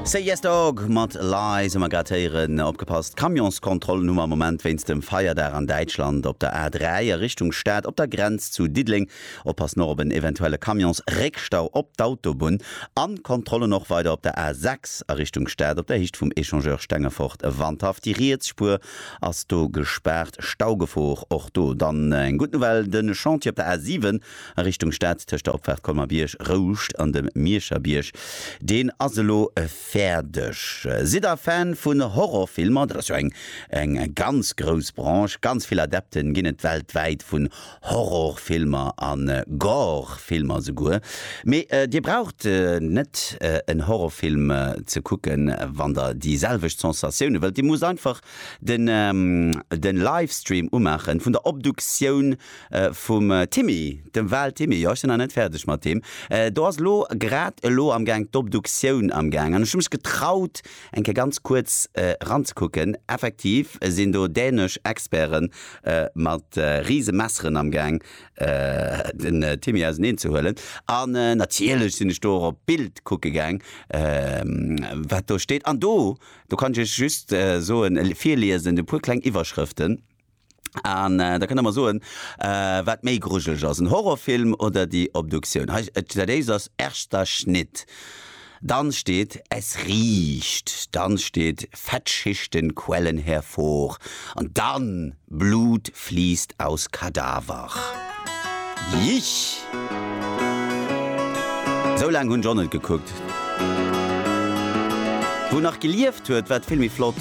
Say Yes Dog mat Lies hu mer grad héieren. Opgepasst, Camionskontrollen hu mer am Moment wéinst dem Feierdag an Däitschland op der A3 a Richtung Stad op der Grenz zu Diddeleng. Oppassen och op en eventuelle Camionsréckstau op d'Autobunn an Kontrollen och weider op der A6 a Richtung Stad op der Héicht vum Echangeur Stengefort-Wandhaff. Déi riets Spuer ass do gespaart, Staugefor och do. Dann eng gutt Nouvelle, de Chantier op der A7 A Richtung Stad tëscht der Opfaart Colmer-Bierg, Rouscht an dem Mierscher Bierg, deen ass elo fäerdeg. Sidd der Fan vun Horrorfilmer? Dat ass jo eng eng ganz grouss Branche. Ganz vill Adepten ginn et weltwäit vun Horrorfilmer a Gore-Filmer souguer. Mee dir braucht net en Horrorfilm ze kucken, wann der déi selwecht Sensatioune wëllt. Dir musst einfach den den Livestream umaachen vun der Obduktioun Vum Timmy, dem Wal Timmy, jo ech sinn nach net fäerdeg mat deem. Do ass elo grad elo am Gaang d'Obduktioun am Gaang an ech hu mech getraut eng Kéier ganz kuerz eranzekucken. Effektiv sinn do dänesch Experten mat rise Messeren am Gaang den Timmy auseneen ze huelen. An natierlech sinn ech do och op d'Bild kucke gaang wat do steet. An do, do kann ech iech just soen, virliesen e puer kleng Iwwerschrëften. An da kënnt der mer soen, wat méi grujeleg ass, en Horrorfilm oder déi Obduktioun. Hei, dat éischt ass Erster Schnitt, dann steet Es riecht, dann steet Fettschichten quellen hervor an dann Blut fließt aus Kadaver. Jich! Sou laang hunn ech och net gekuckt. Wou nach gelieft huet, war et vill méi flott.